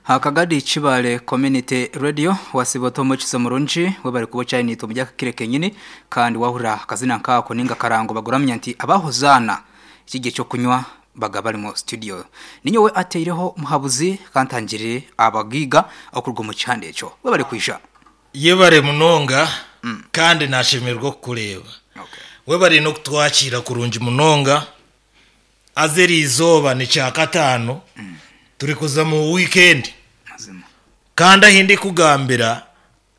Akagadi Kibale Community Radio wasiba ota omukizo murungi webare kuba okyari naitwe omuri aka kiro kenyini kandi wahurira akazina nkako ninga akarango baguramya nti aba Hozaana ekiryo ekyokunywa baga bari mu studio. Ninyowe ateireho muhabuzi kantangirire abagaiga okuruga omu kihanda ekyo. Webare kwija. Yebare munonga kandi nashemererwa okukureeba. Webare n'okutwakiira kurungi munonga. Haza eri izooba ni kyakataano, turikuza mu wiikendi. Kandi ahi ndikugambira,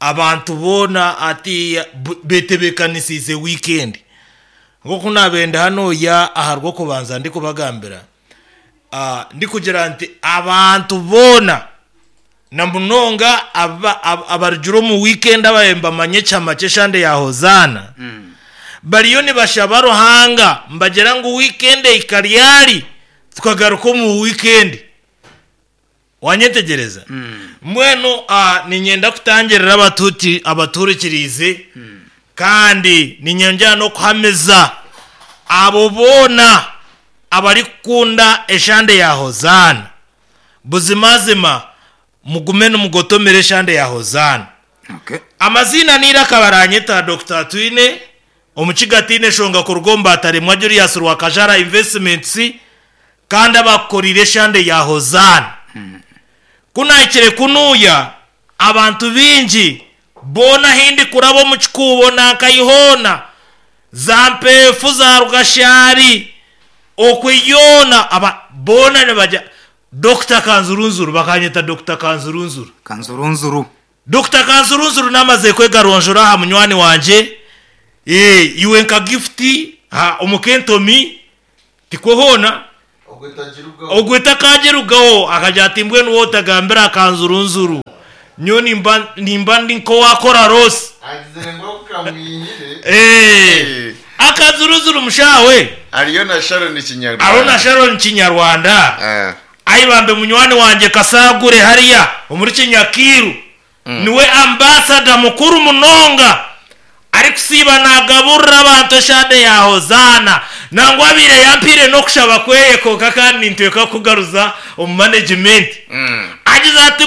abantu boona hatiiya betebeekanisiize wiikendi. Nk'oku naabaire ndi hanuya aha Rwokubanza ndikubagambira, ndikugira nti abantu boona na munonga abarugire omu wiikendi ababaire nibamanya ekihama ky'eshande ya Hozaana, bariyo nibashaba Ruhanga nibagira ngu wiikendi ehika ryari tukagaruka omu wiikendi. Wanyetegyereza? Mbwenu niinyenda kutangirira abatuhurikiriize kandi niinyongyera n'okuhamiza abo boona abarikukunda eshande ya Hozaana. Buzimazima mugume nimugotomera eshande ya Hozaana. Amaziina n'eiraka baranyeta Dokita Atwine, Omukiga ataine nshonga kuruga omu Bataremwa Julius Rwakajara Investments kandi abakukoriire eshande ya Hozaana. Ku nahikire kunuuya, abantu baingi boona ahi ndikuraba omu kikuubo nankahi hoona, za Mpeefu, za Rugashari, okwe yoona aba boona nibagira Dokita Kanzurunzuru, bakanyeta Dokita Kanzurunzuru. Kanzurunzuru. Dokita Kanzurunzuru namaze kwega ronjora aha munywani wangye, iwe nka Gift omuka entomi tikwo hoona? Ogwo etakagirugaho akagira ati mbwenu waaba otagambire aha Kanzurunzuru nyowe nimba ndi nk'owakora loss. Agizire ngu oku kamwihire. Akanzurunzuru mushaho we. Hariyo na Sharon Kinyarwanda. Hariho na Sharon Kinyarwanda. Ai bambe munywani wangye Kasagure hariya omuri Kinyakiiru niwe ambasada mukuru munonga arikusiiba nagaburira abantu eshande ya Hozaana nangwa abaire yampaire n'okushaba kweye kwonka kandi nintweka kukugaruza omu management agize ati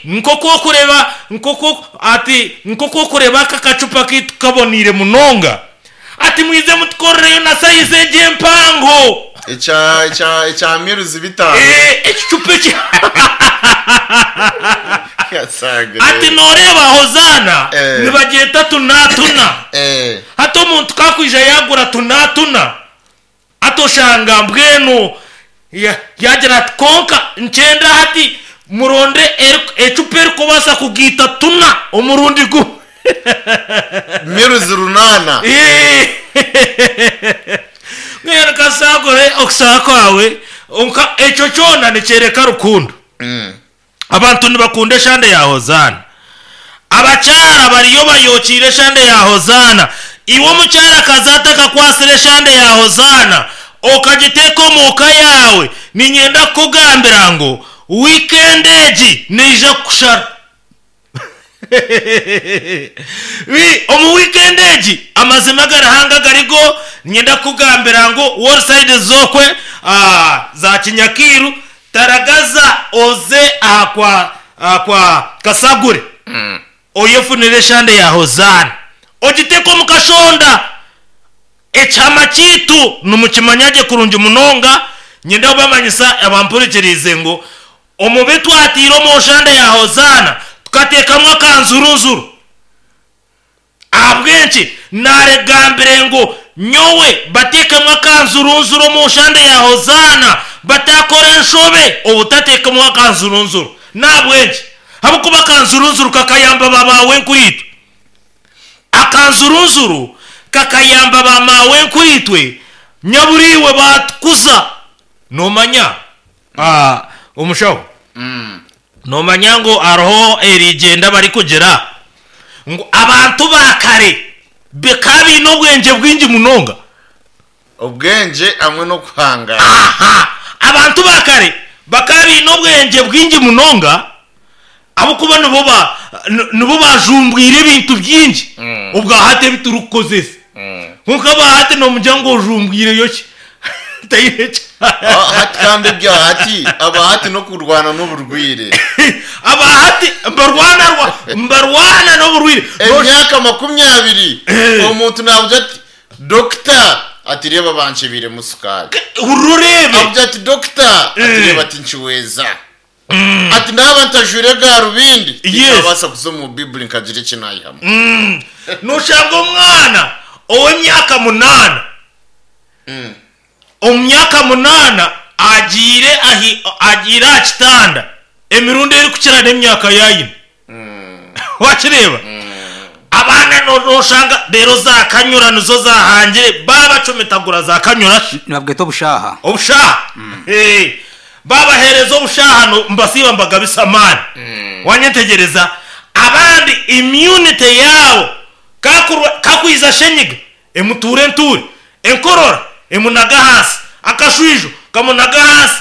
nk'oku okureba nk'oku ati nk'oku okureba aka akacupa kaitu kaboneire munonga Ati mwije mutukorereyo na sayizi egi empango. Ekya ekya ekya miruzi bitaano. Eh, ekicupa eki. Kasagure. Ati nooreeba Hozaana Eh. nibagyeta tunatuna. Eh. Hati omuntu ku akwija yaagura tunatuna, hati oshanga mbwenu ya- yaagira ati kwonka nkyenda hati muronde eri- ecupa erikubaasa kugaita tuna omurundi gumwe. Miruzi runaana. Mbwenu kasagure okushaba kwawe nka ekyo kyona nikyoreka rukundo. Abantu nibakunda eshande ya Hozaana. Abakyara bariyo bayokiire eshande ya Hozaana. Iwe omukyarakazi atakakwasire eshande ya Hozaana okagiteeka omu ka yaawe, niinyenda kukugambira ngu wiikendi egi neija kukushara. Omu wiikendi egi, amazima aga Ruhanga garigo, niinyenda kukugambira ngu woorisayidi z'okwe za Kinyakiiru, taragaza oze aha kwa aha kwa Kasagure oyefunire eshande ya Hozaana ogiteeke omu kashonda. Ekihama kyaitu nimukimanya gye kurungi munonga. Niinyenda kubamanyisa abampurikiriize ngu Omu bi twataire omu nshanda ya Hozaana, tukateekamu akanzurunzuru. Ahabw'enki naaregambire ngu nyowe bateekemu akanzurunzuru omu nshanda ya Hozaana, bataakora enshobe obutateekamu akanzurunzuru? N'ahabw'enki? Ahabw'okuba akanzurunzuru kakayamba ba baawenkuriitwe. Akanzurunzuru kakayamba ba maawenkuriitwe, nyaburiiwe baatukuza. Noomanya? Omushaho, noomanya ngu hariho erigyenda barikugira ngu abantu ba kare bakaba baine obwengye bwingi munonga. Obwengye hamwe n'okuhangaara. Aha! Abantu ba kare bakaba baine obwengye bwingi munonga ahabw'okuba nibo ba nibo baajumbwire ebintu bingi obwa hati ebi turikukozesa. Kwonka aba hati noomugira ngu ojumbwireyo ki? Taine ki. Ah, hati kandi ebya hati aba hati n'okurwana n'oburwire. Aba hati mbarwana rwa mbarwana n'oburwire. Emyaka 20 omuntu nabugira ati dokita ati reeba bankyebeiremu sukaari. Hurira oreebe. Abugira ati dokita ati reeba tinkiweeza. Ati naaba ntajwaire garubindi tinkabaasa kuza omu Baiburi nkagira eki naihamu. Noshanga omwana ow'emyaka munaana Omu myaka munaana agiire ahi agiire aha kitanda emirundi erikukira n'emyaka ei aine. Wakireeba? Abaana no- noshanga reero za kanyura nizo zaahangire baabacumitagura za kanyura shi. Nibabweta obushaaha. Obushaaha. Eh, Baabaheereza obushaaha no mbasiiba mbagabisa amaani. Wanyetegyereza? Abandi immunity yaabo kakurwa kakwiza shenyiga Emutuura entuure, enkorora emunaga ahansi, akashwijo kamunaga ahansi.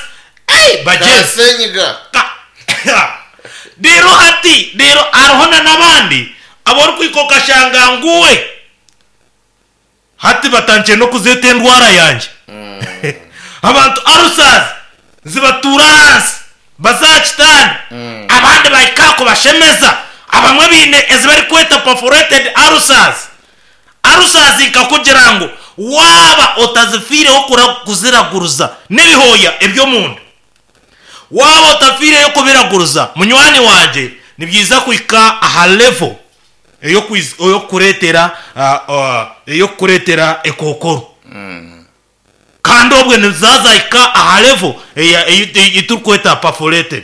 Ei bagyezi! Kasenyiga. Ka Reero hati, reero hariho na n'abandi abu orikuhika okashanga ngu we hati batandikire n'okuzeeta endwara yangye. Abantu ulcers nizibatuura ahansi baza aha kitanda, abandi bahika aha kubashemeza, abamwe baine ezi barikweta perforated ulcers. Arusazi nkakugira ngu waaba otazifiireho kuziraguruza n'ebihooya eby'omunda, waaba otafiireyo kubiraguruza munywani wangye nibyija kuhika aha level ey'okukureetera ey'okukureetera ekookoro. Kandi obwe nizaazahika aha level ei turikweta perforated,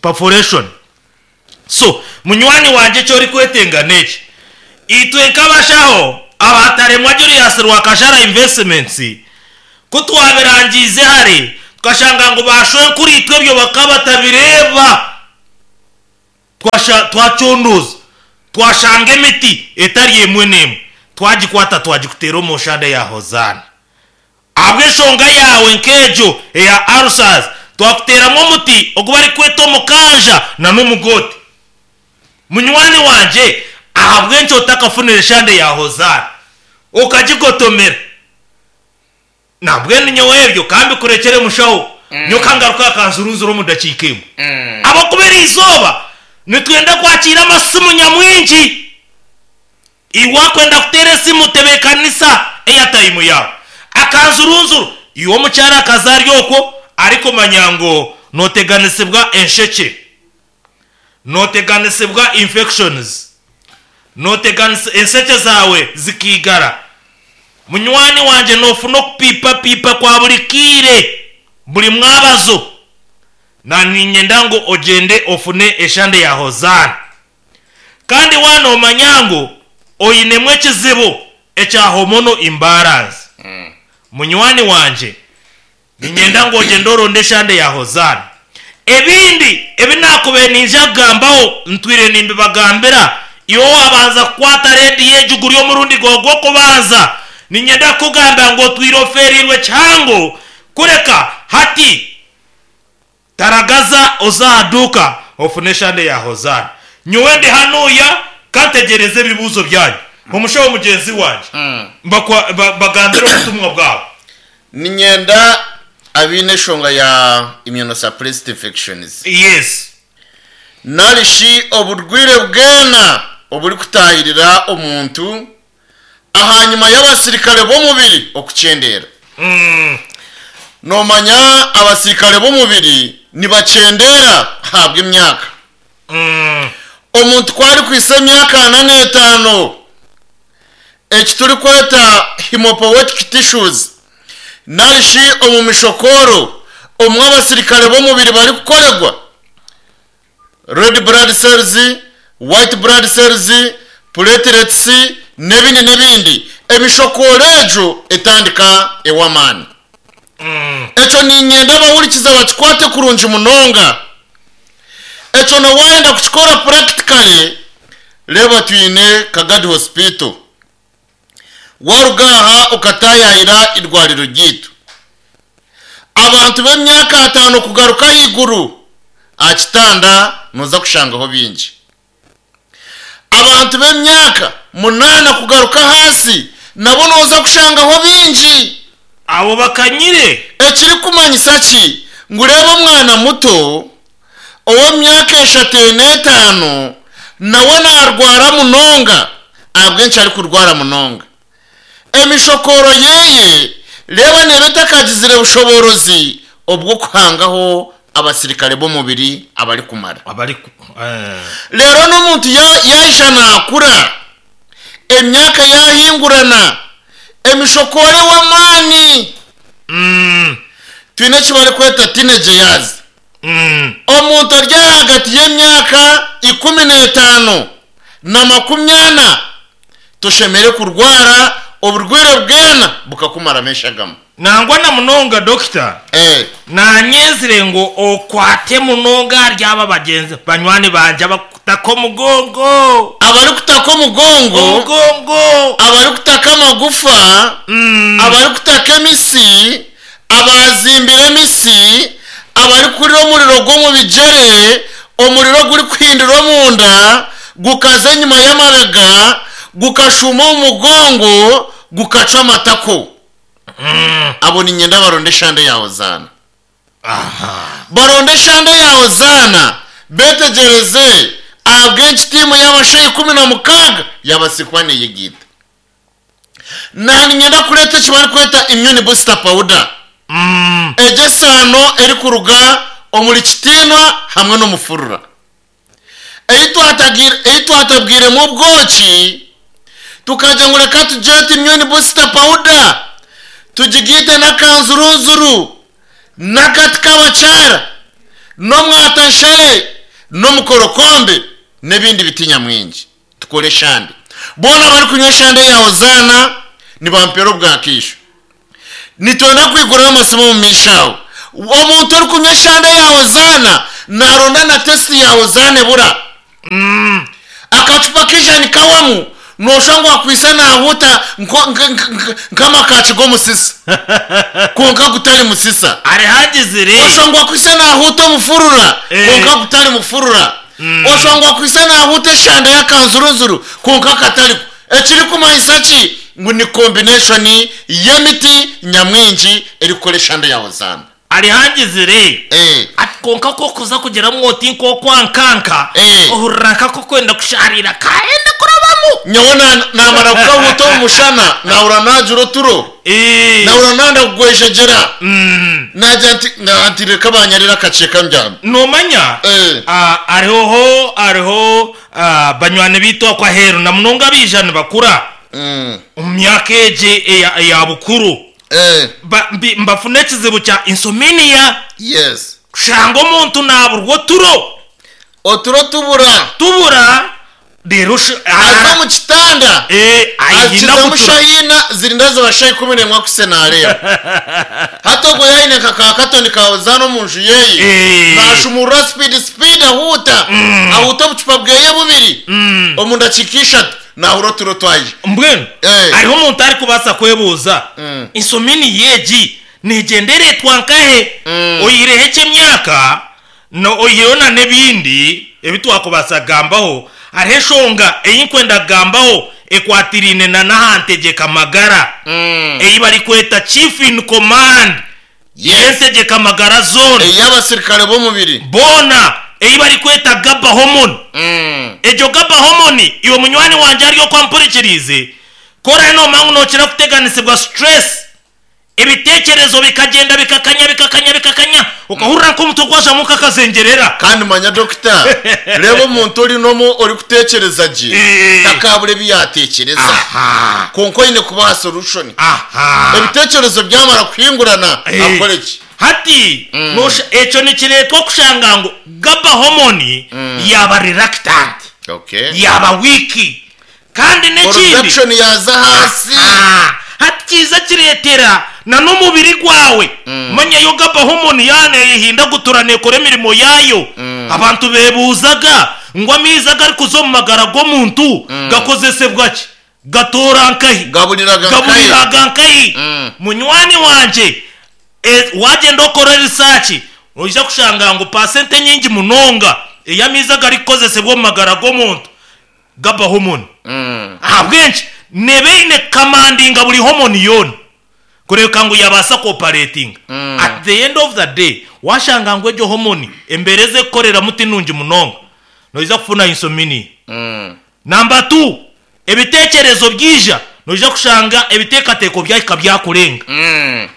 perforation. So, munywani wangye eki orikwetenga n'eki, itwe nk'abashaho aba Taremwa Julius Rwakashara Investments, ku twabirangiize hare, tukashanga ngu ba shwenkuriitwe ebyo bakaba batabireeba. Twasha, twacondooza, twashanga emiti etari emwe n'emwe, twagikwata twagikuteera omu nshanda ya Hozaana. Ahabw'enshonga yaawe nk'egyo eya ulcers, twakuteeramu omuti ogu barikweta omukanja na n'omugote. Munywani wangye, ahabw'enki otakafunire eshande ya Hozaana okagigotomera? Nambwenu nyowe ebyo ka mbikurekyere mushaho, nyowe ka ngaruke aha kanzurunzuru omu dakiika emwe. Ahabw'okuba eri izooba nitwenda kwakiira amasimu nyamwingi. Iwe wakwenda kuteera esimu tebeekanisa eyatayimu yaawe. Akanzurunzuru, iwe omukyara akaza ari okwo arikumanya ngu nooteganisibwa enshekye, nooteganisibwa infections, nooteganisa enshekye zaawe zikaigara. Munywani wangye noofuna okupiipapiipa kwa buri kaire, buri mwabazo. Na niinyenda ngu ogyende ofune eshande ya Hozaana. Kandi waaba noomanya ngu oinemu ekizibu ekya hormonal imbalance, munywani wangye, niinyenda ngu ogyende oronde eshande ya Hozaana. Ebindi ebi naakubaire niija kugambaho ntwire nimbibagambira, iwe waabanza kukwata rediyo egi guri omurundi gwawe gw'okubanza, niinyenda kukugambira ngu otwire ofeereirwe kihango kureka hati. Taragaza oze aha duuka ofune eshande ya Hozaana. Nyowe ndi hanuya ka ntegyereze ebibuuzo byanyu. Omushaho mugyenzi wangye, mbagambire obutumwa bwabo. Niinyenda abaine enshonga ya immunosuppressed infections. Yes. Nari shi oburwaire bwena oburikutaahirira omuntu ahanyima y'abasirikare b'omubiri okukyendeera. Noomanya abasirikare b'omubiri nibakyendeera ahabw'emyaka. Omuntu ku arikuhitsya emyaka ana n'etaano, eki turikweta hemopoietic tissues nari shi omu mishokooro omu abasirikare b'omubiri barikukorerwa, red blood cells, white blood cells, platelets n'ebindi n'ebindi, emishokooro egyo etandika ew'amaani. Ekyo niinyenda abahurikiza bakikwate kurungi munonga. Ekyo na waayenda kukikora practically, reeba twine Kagadi Hospital. Waaruga aha okataayaayira eirwariro ryaitu. Abantu b'emyaka ataano kugaruka ahaiguru aha kitanda nooza kushangaho baingi. Abantu b'emyaka munaana kugaruka ahansi nabo nooza kushangaho baingi. Abo bakanyire. Ekirikumanyisa ki? Ngu reeba omwana muto ow'omu myaka eshatu ena etaano nawe naarwara munonga. Ahabw'enki arikurwara munonga? Emishokooro ye reeba neeba etakagizire bushoboorozi obw'okuhangaho abasirikare b'omubiri abarikumara. Reero n'omuntu yaija naakura, emyaka yaahingurana, emishokooro ewa amaani. Twine eki barikweta teenage years. Omuntu ari ahagati y'emyaka 15 na 40 toshemereire kurwara oburwaire bwena bukakumaramu eshagama. Nangwa na munonga dokita nanyenzire ngu okwate munonga ahari aba bagyenzi banywani bangye abakutaka omugongo. Abarikutaka omugongo. Omugongo. Abarikutaka amagufa, abarikutaka emisi, abaazimbire emisi, abarikuhurira omuriro gw'omu bigyere, omuriro ogurikuhindira omunda, gukaza enyima y'amabega, gukashuuma omu mugongo, gukacwa amatako. Abo niinyenda baronde eshande ya Hozaana. Baronde eshande ya Hozaana, beetegyereze ahabw'enki tiimu y'abashaija 16 yaabaasize kuba neeyegaita. Naaniinyenda kureeta eki barikweta immune booster powder. Egyo esaano erikuruga omuri kitiinwa hamwe n'omufurura. Ei twatabwiremu obwoki, tukagira ngu reka tugyete immune booster powder, tugigaite n'akanzurunzuru, n'akati k'abakyara, n'omwatanshare, n'omukorokombe, n'ebindi biti nyamwingi. Tukore eshande. Boona abarikunywa eshande ya Hozaana nibampeera obwakaisho. Nitwenda kwiguraho amasimu omu maisho aho. Omuntu orikunywa eshande ya Hozaana naaronda na tesiti ya Hozaana ebura. Akacupa k'eijani kawamu nooshusha ngu akwaitse naahuuta nk'amakaaki g'omusisa kwonka gutari musisa. Arihagizire. Oshusha ngu akwaitse naahuuta omufurura kwonka gutari mufurura. Oshusha ngu akwaitse naahuuta eshande y'akanzurunzuru kwonka katariko. Ekirikumanyisa ki? Ngu ni combination y'emiti nyamwingi erikukora eshande ya Hozaana. Arihangizire Eh. ati, Kwonka ku orikuza kugiramu oti nk'okwankanka, Eh. ohurira nk'ak'okwenda kushaariira kaayenda kurabamu. Nyowe na- naamara kukahuuta omu mushana, naahurira naagira oturo. Eh. Naahurira nanda kugwejegyera. Mm. Naagira nti, na- nti reka baanyarire akakyeka mbyame. Noomanya, Eh. ah, hariho hariho ah, banywani baitu okwo aheeru na munonga abaija nibakura Mm. omu myaka egi eya, eya bukuru. Eh. Ba, mbi, mbafuna ekizibu kya insomnia. Yes. Kushanga omuntu naaburwa oturo. Oturo tubura. Tubura, reero oshu, Aza omu kitanda. Eh, aihina Akizamu kutura. shaha ina, zirinda ziba shaha 11 akuse naareeba. Hati ogwo yaaba aine nka ka katoni ka Hozaana omu nju yeye, Eh. naashumurura speed speed ahuuta, ahuuta obucupa bweye bubiri omu ndakiika ishatu. Naahurira oturo twaija. Mbwenu Eh. hariho omuntu arikubaasa kwebuuza, Mm. Insomini egi neegyenda ereetwa nkahe? Mm. Oihireho eky'emyaka, na oihireho na n'ebindi ebi twakubaasa kugambaho, hariho enshonga ei nkwenda kugambaho ekwatiraine na n'aha ntegyeka magara Mm. ei barikweta Chief in Command Yes. y'entegyeka magara zoona. Ey'abasirikare b'omubiri. Boona ei barikweta GABA hormone. Mm. Egyo GABA hormone iwe munywani wangye ari oku ampurikiriize, ku oraabe noomanya ngu nookira kuteganisibwa stress, ebiteekyerezo bikagyenda bikakanya bikakanya bikakanya, okahurira nk'omutwe gwazamu nk'akazengyerera. Kandi manya dokita, reeba omuntu ori n'omu orikuteekyereza gye, Eh. takaabura ebi yaateekyereza. Aha. Kwonka oine kubaha solution. Aha. Ebiteekyerezo byamara kuhingurana, Eh. akore ki? Hati nosha ekyo nikireetwa okushanga ngu GABA hormone yaaba reluctant, Okay. yaaba weak. Kandi n'ekindi Production yaaza ahansi. Aha. Hati kiiza kireetera na n'omubiri gwawe. Manya yo GABA hormone yaaba neeyehindagutura neekora emirimo yaayo. Abantu beebuuzaga ngu amaizi agarikuza omu magara g'omuntu gakozesebwa ki? Gatoora nkahi? Gaburiraga nkahi? Gaburiraga nkahi? Mm. Munywani wangye, e, wagyenda okore research, noija kushanga ngu paasente enyingi munonga ey'amaizi agarikukozesebwa omu magara g'omuntu gaba hormone. Mm. Ahabw'enki? Neeba eine kukamandinga buri hormone yoona. Kureka ngu yabaasa ku operatinga. At the end of the day, washanga ngu egyo hormone embeera ezi erikukoreramu ti nungi munonga, noija kufuna insomnia. Namba tu, ebiteekyerezo byaija, noija kushanga ebiteekateeko byahika byakurenga.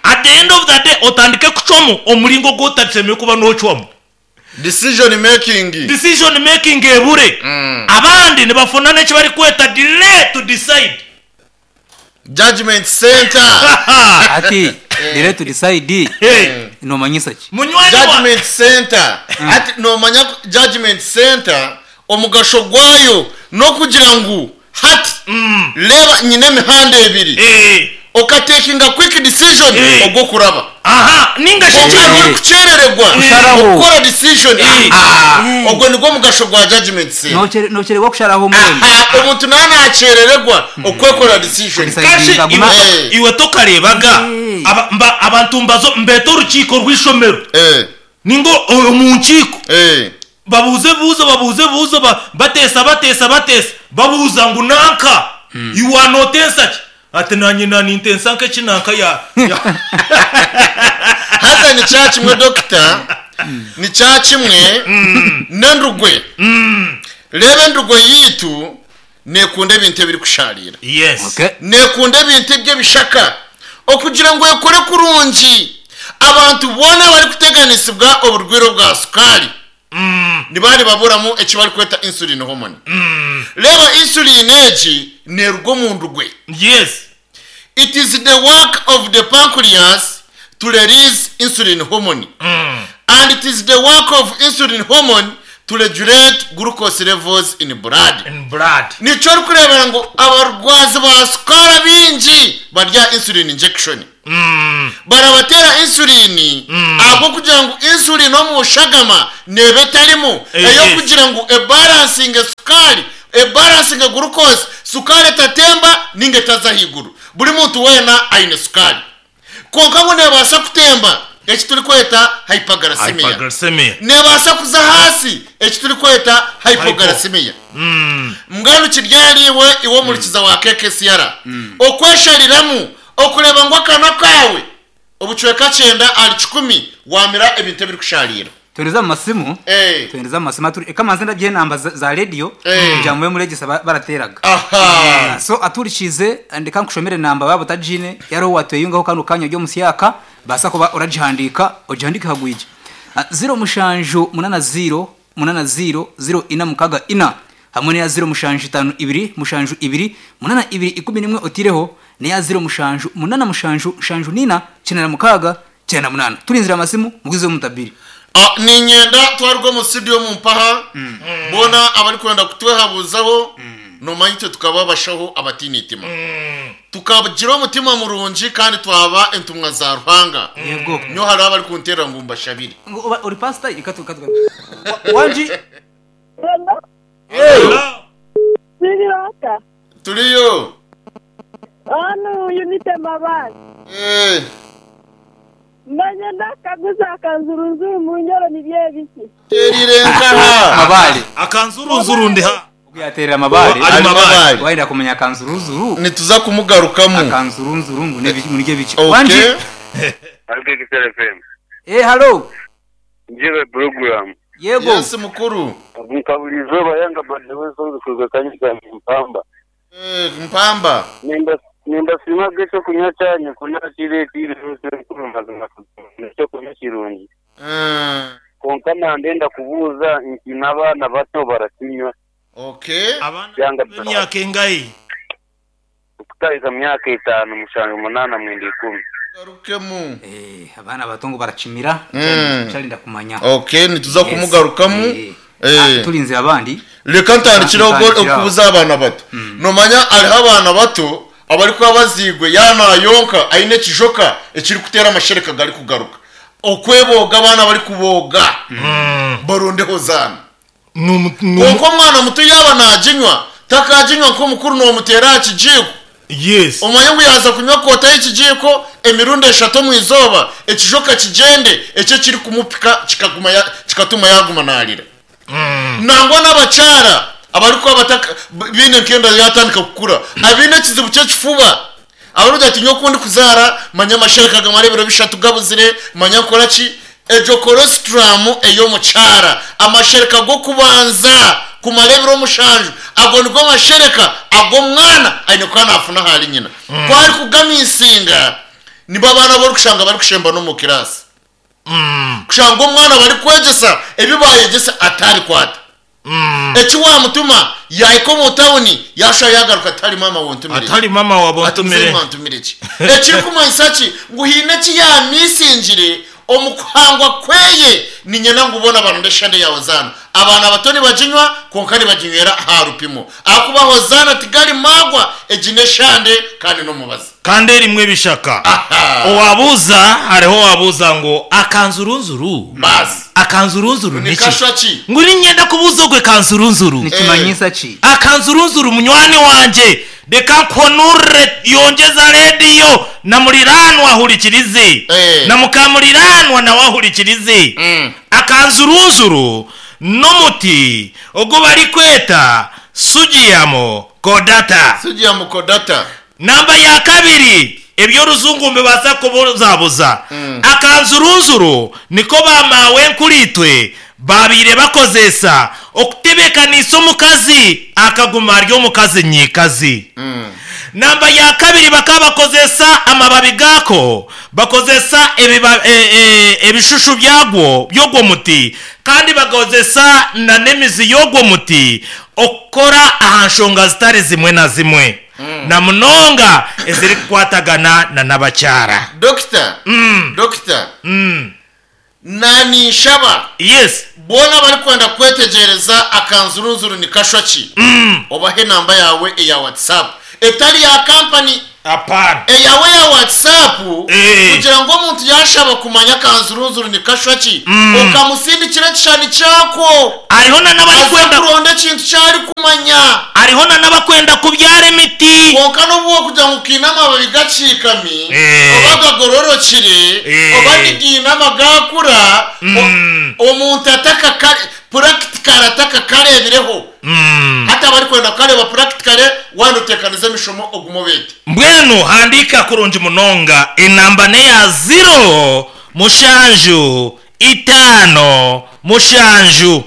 At the end of the day, otandike kucwamu omuringo ogu otashemereire kuba noocwamu. Decision making. Decision making ebure. Abandi nibafuna n'eki barikweta delay to decide. Judgement center. Hati delay to decide nomanyisa ki? Munywani wa. Judgement center. Hati nomanya ku judgement center omugasho gwayo nokugira ngu hati reeba nyine emihanda ebiri okatekinga quick decision ogwokuraba. Aha ninga shi Kwonka ekindi. hariho orikukyerererwa Kusharaho. okukora decision aha ogwo nigwo mugasho gwa judgement center. Nokyererwa kusharaho mbwenu. Aha omuntu naaba nakyerererwa okwekora decision. Kudecide. Kashi Aguma- iwe, iwe tokareebaga Eh. aba, mba, abantu mbaza mbeeta orukiiko rw'eishomero Eh, ninga omu nkiiko eh. babuuza ebibuuzo babuuza ebibuuzo ba, bateesa bateesa bateesa babuuza ngu nanka iwe nootensa ki? Ati nanye na nintensa nk'eki nanka ya ya. Haza ni kya kimwe dokita, ni kya kimwe n'endugwe. Reeba endugwe yaitu neekunda ebintu ebirikushaariira. Yes. Okay. Neekunda ebintu eby'ebishaka. Okugira ngu ekore kurungi, abantu boona abarikuteganisibwa oburwaire obwa sukaari nibaba nibaburamu eki barikweta insulin hormone. Reeba insulin egi neeruga omu ndugwe. Yes. It is the work of the pancreas to release insulin hormone and it is the work of insulin hormone to regulate glucose levels in blood. In blood. Nikyo orikureebera ngu abarwazi ba sukaari abaingi bari aha insulin injection. Barabateera insulin ahabw'okugira ngu insulin omu shagama neeba etarimu ey'okugira ngu ebalansinge sukaari, ebalansinge glucose, sukaari etatemba ninga etaza ahaiguru. Buri muntu weena aine sukaari. Kwonka ngu neebaasa kutemba, eki turikweta hyperglycemia. Hyperglycemia. Neebaasa kuza ahaasi, eki turikweta hypoglycemia. Mbwenu kiri ahariiwe iwe omuhurikiza wa KKCR, okweshariramu okureeba ngu akanwa kaawe obucweka kyenda ahari kikumi waamira ebintu ebirikushaariira. Twendeza omu masimu Eh. twendeza omu masimu aturi reka manze ndagye enamba za, za radio Eh. kugira mube muregesa ba- barateraga Aha. so aturikize ndeka nkushomere enamba baaba otagiine yariho watweyungaho kanu kanya ori omusyaka baasa kuba oragihandiika ogihandiike hagwigye Ah, ziro mushanju munana ziro munana ziro ziro ina mukaga ina hamwe n'eya ziro mushanju itaano ibiri mushanju ibiri munana ibiri ikumi n'emwe otiireho n'eya ziro mushanju munana mushanju nshanju n'ina kyenda na mukaaga kyenda na munaana. Turinzire amasimu mugwizeho mutabire. A Niinyenda twaruga omu studio omu mpaha, boona abarikwenda kutwehabuuzaho, noomanya itwe tukaba abashaho abataine itima. Tukagira omutima murungi kandi twaba entumwa za Ruhanga. Yego. Nyowe hariho abarikunteerera ngu mbashabire. Ngu oba ori pastor? Reka tu reka tu Wangi. Hello, Hello. Siriwaka. Turiyo. Onu Unity Mabare. Eh. Manye ndakaguza akanzurunzuru mu nyoro nibyo ebiki. Terire nkaha. Mabare. Akanzurunzuru ndi ha. Ogu yaterera Mabare. Ari Ari Mabare. Mabare. Wayenda kumanya akanzurunzuru. Nituza kumugarukamu. Akanzurunzuru ngu nebi ngu nibyo biki. Wangi. Okay. Ariko Kisera FM. Eh halo. Njebe program. Yego. Yes mukuru. Nka buri izooba yanga Badiwe songs kuruga Kanyika Mpamba. Eh, Mpamba. Nimba nimbasiima ahabw'ekyokunywa kyanyu ku nakireetiire mukuru mazima n'ekyokunywa kirungi. Eh, Kwonka nandenda kubuuza nti n'abaana bato barakinywa? okay. Abaana Yanga b'emyaka engahi? Okutahika myaka etaano, mushanju, munaana, mwenda, ikumi. Garukemu. Eh, abaana bato ngu barakimira. Kyarinda kumanya. Okay, nituza Yes. kumugarukamu. Eh. Eh. Ah, turinzire abandi. Reka ntandikire Ntandikire aho. okubuza abaana bato. Nomanya hariho abaana bato abarikuba baziirwe yaaba naayonka aine ekijoka ekirikuteera amashereka garikugaruka. Okwebooga abaana barikubooga barondeho zaana. Kwonka omwana muto yaaba naaginywa, takaaginywa nk'omukuru noomuteera aha kijiiko. Yes. Omanye ngu yaaza kunywa koota y'ekijiiko emirundi eshatu omu izooba, ekijoka kigyende, ekyo ekirikumupika kikaguma ya, kikatuma yaaguma naarira. Nangwa n'abakyara abarikuba bataka, baine nk'enda yaatandika kukura, abaine ekizibu ky'ekifuba, Abarikugira ati nyowe ku ndikuzaara manya amashereka gamara ebiro bishatu gabuzire, manya nkora ki? Egyo colostrum ey'omukyara, amashereka g'okubanza kumara ebiro mushanju, ago nigo mashereka agu omwana aine kuba naafuna ahari nyina. Ku arikugamisinga, nibo abaana abu orikushanga barikushemba n'omu kiraasi. Kushanga omwana barikwegyesa ebi baayegyesa atarikwata. Eki waamutuma yaahika omu tauni yaashusha yaagaruka ati, Maama wontumire ki? Atari maama waaba Ati muzeeyi ontumire. mwantumire ki? Ekirikumanyisa ki? Ngu haine eki yaamisingire omu kuhangwa kweye. Niinyenda ngu boona baronde eshande ya Hozaana. Abaana bato nibaginywa kwonka nibaginywera aha rupimo. Ahakuba Hozaana tigari maagwa, egi n'eshande kandi n'omubazi. Kandi erimu ebishaka. Aha! Owabuuza, hariho owabuuza ngu akanzurunzuru? Baasi. Akanzurunzuru Ni niki? kashwa ki? Ngu niinyenda kubuuza ogwe kanzurunzuru. Nikimanyisa ki? Akanzurunzuru munywani wangye, reka nkuhonurire yongyeza rediyo na muriraanwa ahurikirize, Eh. na mukamuriraanwa nawe ahurikirize. Akanzurunzuru n'omuti ogu barikweta Sugiamo cordata. Sugiamo cordata. Namba ya kabiri, eby'orujungu nibibaasa kubuzabuza. Akanzurunzuru niko baamaawenkuriitwe baabaire bakozeesa okutebeekanisa omukazi akaguma ari omukazi nyiikazi. Namba ya kabiri bakaba bakozeesa amababi gaako, bakozesa ebishushu byagwo by'ogwo muti kandi bakozesa n'emizi y'ogwo muti okukora aha nshonga zitari zimwe na zimwe na munonga ezirikukwatagana na n'abakyara. Dokita, Dokita, naninshaba Yes. boona abarikwenda kwetegyereza akanzurunzuru nikashwa ki, obahe enamba yaawe eya WhatsApp etari ya kampani. Apana. Eyawe ya WhatsApp Eh. kugira ngu omuntu yashaba kumanya akanzurunzuru nikashwa ki, okamusindikira ekishushani kyako. Hariho na Aze n'abarikwenda kuronda ekintu ki arikumanya. Hariho na n'abakwenda kubyara emiti. Kwonka n'obu wokugira ngu kiine amababi gakiikami, Eh. oba gagororokire, Eh. oba nigiine amagakura, omuntu atakakare, purakitikare atakakareebireho. Hati abarikwenda kukareeba purakitikare, waaba noteekaniza emishomo ogume obeete. Mbwenu handiika kurungi munonga, enamba n'eya ziro mushanju itaano mushanju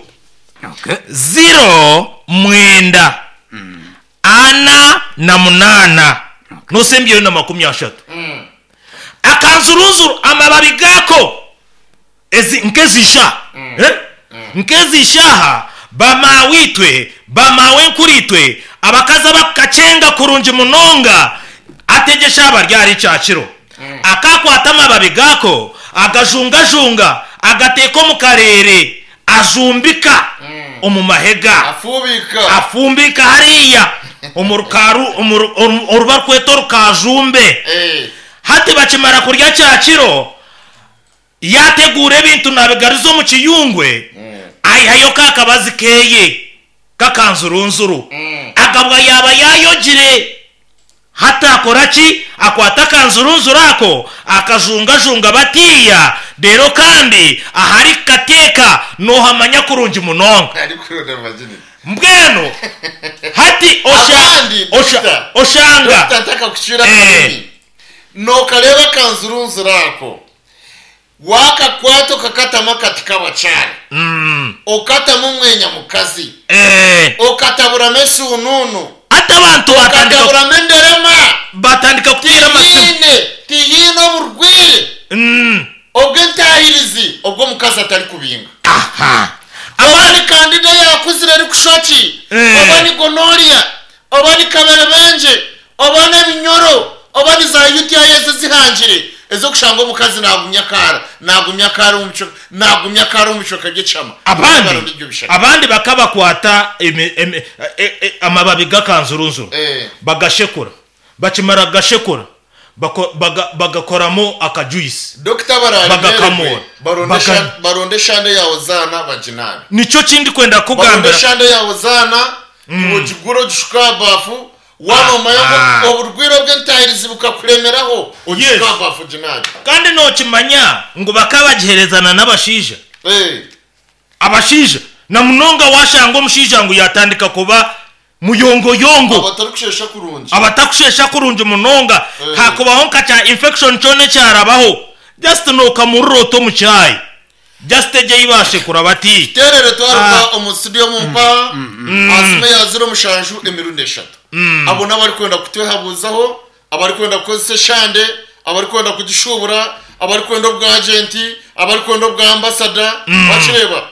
Okay. ziro mwenda ana na munaana n'osembyeyo na 30. Akanzurunzuru amababi gaako ezi nk'ezisha eh? Nk'ezishaha bamaawitwe bamaawenkuriitwe abakazi abakukakyenga kurungi munonga ategyesha aba ryari kyakiro akakwata amababi gaako agajungajunga agateeka omu kareere ajumbika omu mahega Afuubika. Afumbika hariya omu rukaaru omu ru- oru oru barikweta orukajumbe. Eh. Hati bakimara kurya kyakiro, yaateguura ebintu naabigaruza omu kiyungwe, aihayo ka kabazi keye k'akanzurunzuru. Agabwa yaaba yaayogire. Hati akora ki? Akwata akanzurunzuru ako, akajungajunga batiiya, reero kandi ahari kukateeka noohamanya kurungi munonga. Arikuronda virginity. Mbwenu hati osha, Abandi, osha, Doctor, oshanga. Doctor, ntakakucwira Eh. akarimi. Nookareeba akanzurunzuru ako, waakakwata okakatamu akati k'abakyara, okatamu omwenya mukazi, Eh. okataburamu esuunuunu, Hati abantu batandika okataburamu enderema, batandika kuteera amasimu. tihaine, tihaine oburwaire obw'entaahirizi obw'omukazi atarikubinga. Aha. Oba ni kandida yaakuzire erikushwa ki, Eh. oba ni gonoria, oba ni kaberebengye, oba n'ebinyoro, oba ni za UTI ezi ezihangire ez'okushanga omukazi naagumya akaara, naagumya akaara omu bicweka, naagumya akaara omu bicweka by'ekihama. Abandi Baronda ebyo bishaka. abandi bakabakwata emi- emi- e- e- amababi g'akanzurunzuru Eh. bagashekura bakimara kugashekura bako- baga- bagakoramu akajuice Dokita bararemererwe, bagakamura baronde Baga- esha- baronde eshande ya Hozaana baginaabe. Nikyo kindikwenda Baronde kukugambira. eshande ya Hozaana, iwe ogigure ogishuke aha baafu, waaba omanya ngu Ah. oburwaire obw'entaahirizi bukakuremeraho, ogishuke Yes. aha baafu oginaabe. Kandi nokimanya ngu bakabagiherezana n'abashaija. Eh. Abashaija na munonga washanga omushaija ngu yatandika kuba Muyongoyongo. Abatarikushesha kurungi. Abatakushesha kurungi munonga. Hakubaho nka kya infection kyona ekyarabaho, just nokamurira ota omu chai. Just egyo ei bashekura bati. Tuterere twaruga omu studio omu mpaha aha simu eya ziro mushanju emirundi eshatu. Abo n'abarikwenda kutwehabuuzaho, abarikwenda kukozesa eshande, abarikwenda kugishuubura, abarikwenda obwagenti, abarikwenda obwa ambasada, wakireeba?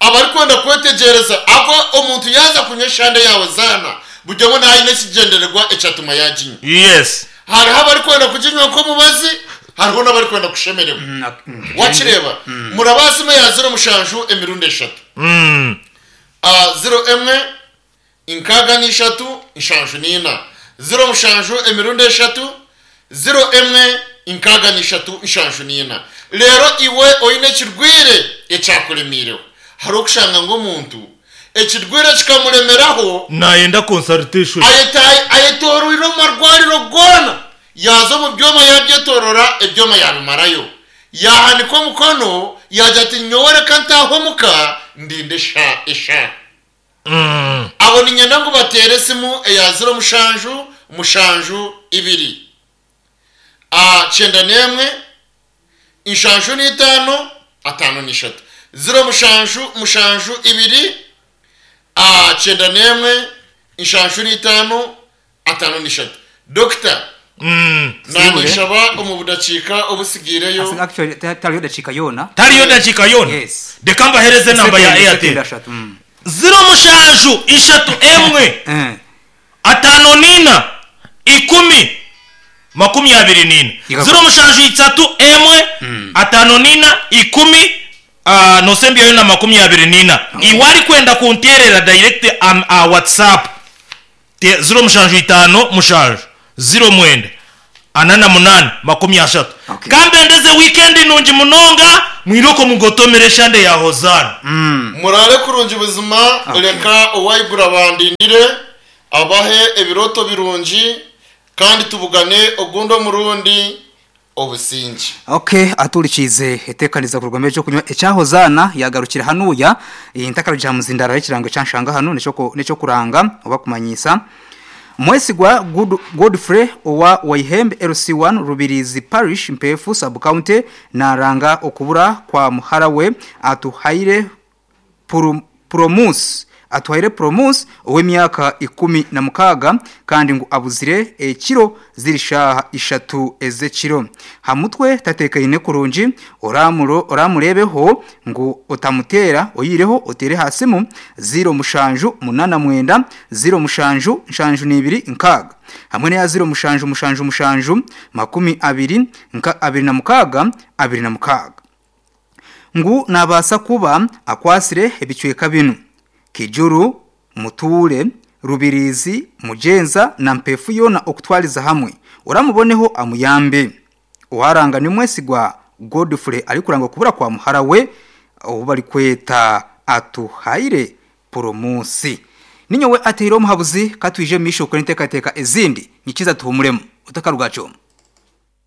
Abarikwenda kwetegyereza ahakuba omuntu yaaza kunywa eshande yaawe zaana, buri omwe naaba aine ekigyendererwa ekyatuma yaaginywa. Yes. Hariho abarikwenda kuginywa nk'omubazi, hariho n'abarikwenda kushemererwa. Wakireeba? Murabaasa imwe ya ziro mushanju emirundi eshatu. Ziro emwe, Nkaaga n'ishatu, nshanju n'ina. Ziro mushanju emirundi eshatu, ziro emwe, nkaaga n'ishatu, nshanju n'ina. Reero iwe oine ekirwaire ekyakuremeireho. Hariho okushanga ngu omuntu ekirwaire kikamuremeraho. Naayenda consultation. Ayetooroire omu marwariro goona, yaaza omu byoma yaabyetorora, ebyoma yaabimarayo. Yaahanika omukono yaagira ati nyowe reka ntaahe omuka ndinde eshaaha. Abo niinyenda ngu bateere esimu eya ziro mushanju mushanju ibiri, kyenda n'emwe, nshanju n'itaano, ataano n'ishatu. Ziro mushanju mushanju ibiri, kyenda n'emwe, nshanju n'itaano, ataano n'ishatu. Dokita, naninshaba omu budakiika obusigaireyo. Actually, tariyo dakiika yoona. Tariyo dakiika yoona? Yes. Reka mbahereze enamba ya Airtel. Ziro mushanju ishatu emwe ataano n'ina ikumi makumyabiri n'ina. Ziro mushanju isatu emwe ataano n'ina ikumi nosembyayo na makumyabiri n'ina. Iwe arikwenda kunteerera direct aha WhatsApp. 07 7 09 48 30. Ka mbendeze wiikendi nungi munonga, mwirooko mugotomere eshande ya Hozaana. Muraare kurungi buzima, reka Owaiguru abandindire, abahe ebirooto birungi, kandi tubugane ogundi omurundi. Obusingye. Ok aturikiize eteekaniza kuruga omu eky'okunywa ekya Hozaana yaagarukira hanuya ntakarugire aha muzindaaro hariho ekirango ekyanshanga hanu n'ekyokuranga oba kumanyiisa Mwesigwa Godfrey owa Waihembe LC1 Rubirizi Parish Mpeefu Sub County naaranga okubura kwa muhara we Atuhaire Puromusi Atuhaire Promus ow'emyaka 16 kandi ngu abuzire ekiro ziri shaaha ishatu ez'ekiro. Ha mutwe tateekaine kurungi, oramureebeho ngu otamuteera oyihireho oteere aha simu 07 89 07 72 6 hamwe n'eya 07 7 7 26 26. Ngu naabaasa kuba akwatsire ebicweka binu, Kijuru, Mutuure, Rubirizi, Mugyenza na Mpeefu yoona okutwariza hamwe. Oramuboneho amuyambe. Owaranga ni Mwesigwa Godfrey arikuranga okubura kwa muhara we ou barikweta Atuhaire Poromusi. Ninyowe ateire omuhabuzi, ka twije omu maisho kukora enteekateeka ezindi. Nyikiza tuhumuremu. Otakaruga aha kyoma.